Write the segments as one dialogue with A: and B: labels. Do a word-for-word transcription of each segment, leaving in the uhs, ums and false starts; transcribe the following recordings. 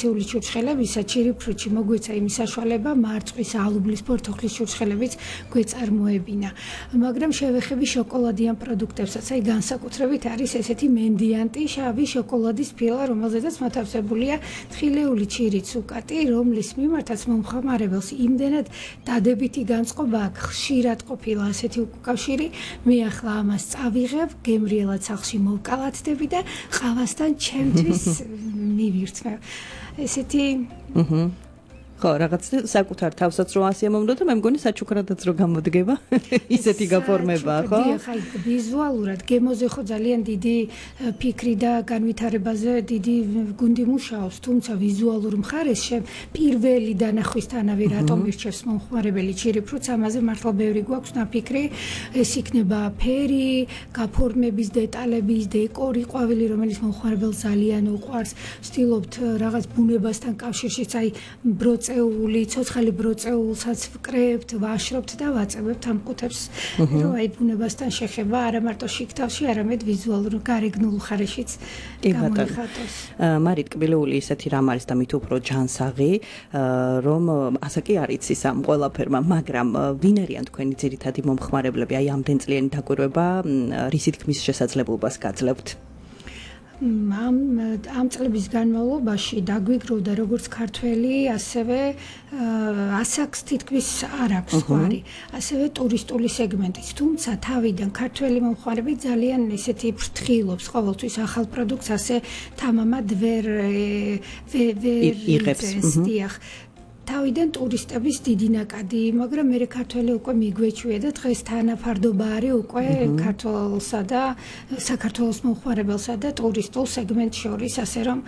A: ტრადიციული ჩურჩხელებისა ჩირიფრუტში მოგვეცა იმის საშუალება მარწყვის, ალუბლის, ფორთოხლის ჩურჩხელებიც გვეწარმოებინა. მაგრამ შევეხები შოკოლადიან პროდუქტებსაც, აი განსაკუთრებით არის ესეთი მენდიანტი შავი შოკოლადის ფილა, რომელზედაც მოთავსებულია თხილეული ჩირის უკატი, რომლის მიმართაც მომხმარებელს იმდენად დადებითი განწყობა აქვს, ხშირად ყოფილა ასეთი უკავშირი, მე ახლა ამას წავიღებ, გემრიელად სახლში მოვკალათდები და ყავასთან ჩემთვის მივირთმევ. ესეთი
B: ხო, რაღაც საკუთარ თავსაც რო ასე მომდო და მე მგონი საჩუქრადაც რო გამოდგება ისეთი გაფორმებაა, ხო?
A: დიახ, აი ვიზუალურად გემოზე ხო ძალიან დიდი ფიქრი და განვითარებაზე დიდი გუნდი მუშაობს, თუმცა ვიზუალურ მხარეს პირველი დანახვისთანავე რატომ ირჩევს მომხმარებელი ჩირიფრუტს, ამაზე მართლა ბევრი გვაქვს ნაფიქრი. ეს იქნება ფერი, გაფორმების დეტალების, დეკორი, ყვავილი, რომელიც მომხმარებელს ძალიან უყვარს. ვცდილობთ რაღაც ბუნებასთან კავშირშიც, აი ბროწ ეული ცოცხალი ბროწეულსაც ვკრებთ, ვაშრობთ და ვაწევებთ ამ ყუთებს, რომ აი ბუნებასთან შეხება არა მარტო შიგთავში, არამედ ვიზუალურ გარეგნულ ხარეშიც გამოიხატოს.
B: მარით კბილეული ისეთი რამ არის და მით უფრო ჯანსაღი, რომ ასე კი არ იცის ამ ყველაფერმა, მაგრამ ვინ არიან თქვენი ძირითადი მომხმარებლები, აი ამდენ წლიანი დაკვირვება რისი თქმის შესაძლებლობას გაძლევთ?
A: ამ ამ წლების განმავლობაში დაგვიგროვდა როგორც ქართველი, ასევე ასაკს თითქმის არ აქვს ხვარი, ასევე ტურისტული სეგმენტიც. თუმცა თავიდან ქართველი მომხმარებელი ძალიან ისეთი ფრთხილობს ყოველთვის ახალ პროდუქტს, ასე თამამად ვერ ვერ
B: იღებს.
A: დიახ. თავიდან ტურისტების დიდი ნაკადი, მაგრამ მე ქართველი უკვე მიგვეჩვია და დღეს თანაფარდობა არის უკვე ქართველსა და საქართველოს მომხმარებელსა და ტურისტულ სეგმენტს შორის, ასე რომ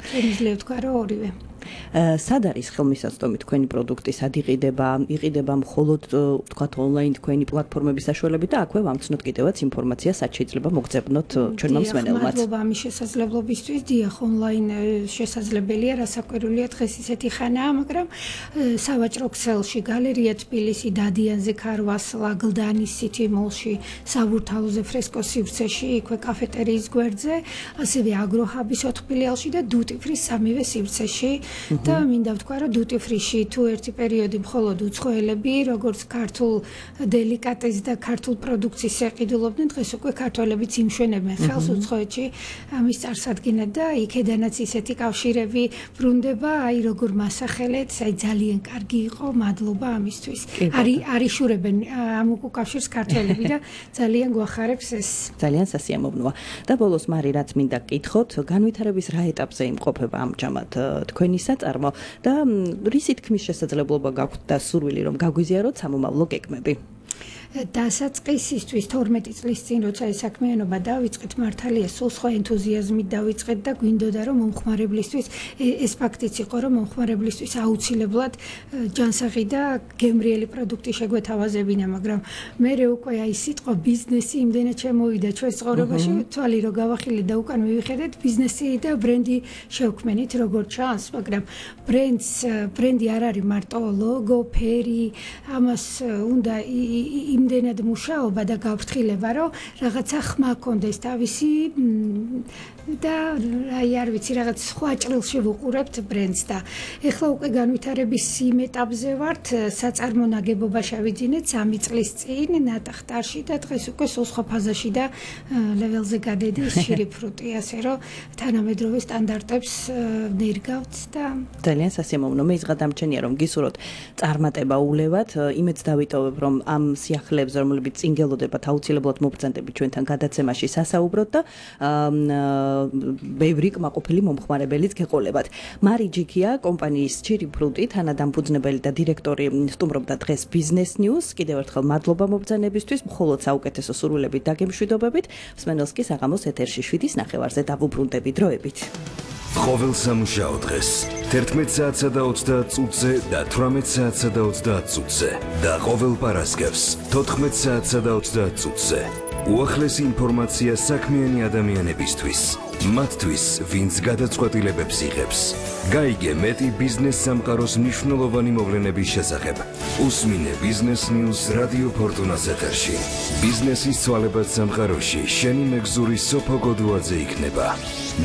A: შეიძლება თქვა რომ ორივე.
B: სად არის ხელმისაწვდომი თქვენი პროდუქტი, სად იყიდება, იყიდება მხოლოდ ვთქვათ ონლაინ თქვენი პლატფორმების საშუალებით და აქვე ვამცნოთ კიდევაც ინფორმაცია, სად შეიძლება მოგწებნოთ ჩვენმა მსმენელმაც.
A: მადლობა ამის შესაძლებლობისთვის, დიახ, ონლაინ შესაძლებელია, რასაკვირველია დღეს ისეთი ხანაა, მაგრამ სავაჭრო ქსელში, გალერეა თბილისი, დადიანზე, ქარვას, ლაგლდანის სიტი მოლში, საბურთალოზე, ფრესკოს სივრცეში, იქვე კაფეტერიის გვერდზე, ასევე აგროჰაბის ოთხ ფილიალში და დუტი ფრის სამივე სივრცეში. და მინდა ვთქვა, რომ დუტი ფრიში თუ ერთი პერიოდი მხოლოდ უცხოელები, როგორც ქართულ დელიკატეს და ქართულ პროდუქციის ეყიდულობდნენ, დღეს უკვე ქართველებიც იმშვენებენ ხელს უცხოეთში ამის წარსადგინად და იქედანაც ისეთი კავშირები ბრუნდება, აი როგორ მასახელეთ, აი ძალიან კარგი იყო, მადლობა ამისთვის. არის არიშურებენ ამ უკავშირს ქართველები და ძალიან გვახარებს ეს.
B: ძალიან სასიამოვნოა. და ბოლოს მარი რაც მინდა გკითხოთ, განვითარების რა ეტაპზე იმყოფება ამჟამად თქვენი საწარმო და რისი თქმის შესაძლებლობა გაქვთ და სურვილი რომ გაგვიზიაროთ სამომავლო გეგმები?
A: დასაწყისისთვის თორმეტი წლის წინ როცა ეს საქმიანობა დავიწყეთ, მართალია სულ სხვა ენთუზიაზმით დავიწყეთ და გვინდოდა რომ მომხმარებლისთვის ეს ფაქტიც იყო, რომ მომხმარებლისთვის აუცილებლად ჯანსაღი და გემრიელი პროდუქტი შეგვეთავაზებინა, მაგრამ მე უკვე აი სიტყვა ბიზნესი იმდენად შემოვიდა ჩვენს ცხოვრებაში, თვალი რო გავახილეთ და უკან მივიხედეთ, ბიზნესი და ბრენდი შევქმნით როგორც ჩანს, მაგრამ ბრენდს ბრენდი არ არის მარტო ლოგო, ფერი, ამას უნდა იმდენად მუშაობა და გაფრთხილება, რომ რაღაცა ხმა კონდეს თავისი და აი არ ვიცი, რაღაც სხვა ჭრილში ვუყურებთ ბრენდს და ეხლა უკვე განვითარების იმ ეტაპზე ვართ, საწარმო ნაგებობა შევიძინეთ სამი წლის წინ ნატახტარში და დღეს უკვე სულ სხვა ფაზაში და ლეველზე გადადის ჩირიფრუტი, ასე რომ თანამედროვე სტანდარტებს ნერგავთ და
B: ძალიან სასიამოვნო. მე იზღადამჩენია რომ გისურვოთ წარმატება ულევად, იმედს დავიტოვებ რომ ამ სიახლეებს, რომლებიც წინ გელოდებათ, აუცილებლად მობრძანდებით ჩვენთან გადაცემაში სასაუბროთ და ბევრი კმაყოფილი მომხმარებელიც გეყოლებათ. მარი ჯიქია, კომპანიის ჩირიფრუტი თანადამფუძნებელი და დირექტორი სტუმრობდა დღეს Business News. კიდევ ერთხელ მადლობა მობრძანებისთვის, მხოლოდ საუკეთესო სურვილებით და გემშვიდობებით. მსმენელს კი საღამოს ეთერში შვიდის ნახევარზე დავუბრუნდები დროებით.
C: ყოველ სამუშაო დღეს თერთმეტ საათსა და ოცდაათ წუთზე და თვრამეტ საათსა და ოცდაათ წუთზე და ყოველ პარასკევს თოთხმეტ საათსა და ოცდაათ წუთზე. უახლესი ინფორმაცია საქმიანი ადამიანებისთვის. მათთვის, ვინც გადაწყვეტილებებს იღებს. გაიგე მეტი ბიზნეს სამყაროს მნიშვნელოვანი მოვლენების შესახებ. უსმინე ბიზნეს ნიუს რადიო ფორტუნას ეთერში. ბიზნესის ცვალებად სამყაროში შენი მეგზური სოფო გოდუაძე იქნება.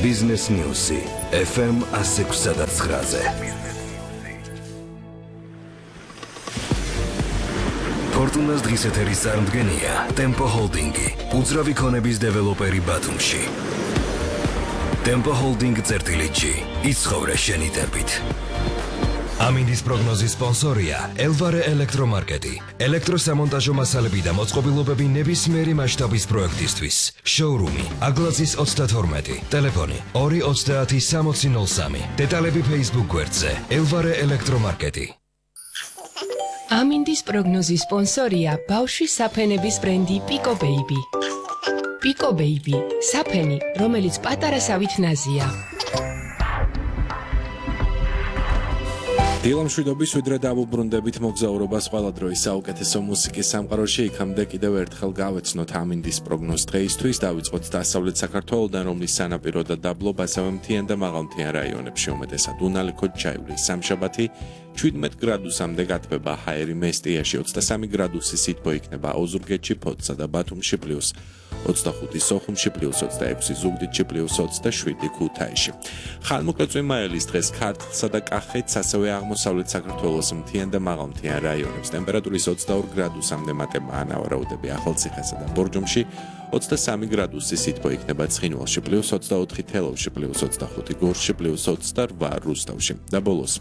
C: ბიზნეს ნიუსი ეფ ემ one oh six და nine-ზე. ფორტუნას დღის ეთერის წარმდგენია ტემპო ჰოლდინგი, უძრავი ქონების დეველოპერი ბათუმში. ტემპო ჰოლდინგ წერტილიჩი, იცხოვრე შენი ტემპით. ამინდის პროგნოზის სპონსორია ელვარე ელექტრომარკეტი. ელექტროსამონტაჟო მასალები და მოწყობილობები ნებისმიერი მასშტაბის პროექტისთვის. შოურუმი აგლაზის ოცდათორმეტი, ტელეფონი ორი ოცდაათი სამოცი ნოლ სამი. დეტალები Facebook გვერდზე ელვარე ელექტრომარკეტი.
D: ამინდის პროგნოზის სპონსორია ბავშვის საფენების ბრენდი პიკო ბეიბი. პიკო ბეიბი, საფენი, რომელიც პატარა სავით ნაზია.
E: დილამშვიდობის ვიდრე დავუბრუნდებით მოგზაურობას ყველა დროის საუკეთესო მუსიკის სამყაროში. იქამდე კიდევ ერთხელ გავეცნოთ ამინდის პროგნოზ დღეისთვის. დავიწყოთ დასავლეთ საქართველოდან, რომლის სანაპირო და დაბლობ, ასევე მთიან და მაღალმთიან რაიონებში უმეტესად უნალიქოდ ჩაივლის. სამშაბათი შვიდმეტ გრადუსამდე გათბება ჰაერი მესტიაში, ოცდასამი გრადუსი სითბო იქნება ოზურგეთში, ფოთსა და ბათუმში პლუს ოცდახუთი სოხუმში, პლუს ოცდაექვსი ზუგდიდში, პლუს ოცდაშვიდი ქუთაისში. ხანმოკლე წვიმაელის დღეს ქართლსა და კახეთს, ასევე აღმოსავლეთ საქართველოს მთიან და მაღალმთიან რაიონებს ტემპერატურის ოცდაორ გრადუსამდე მატება ანავარაუდები ახალციხესა და ბორჯომში, ოცდასამი გრადუსი სითბო იქნება ცხინვალში, პლუს ოცდაოთხი თელავში, პლუს ოცდახუთი გორში, პლუს ოცდარვა რუსთავში და ბოლოს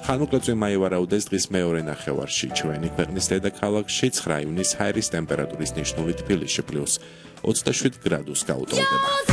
E: ხანმოკლე წვიმაი ვარაუდეს დღის მეორე ნახევარში ჩვენი ქვეყნის დედაქალაქში ცხრა ივნის ჰაერის ტემპერატურის ნიშნული თბილისში პლუს ოცდაშვიდ გრადუსს გაუტოლდება.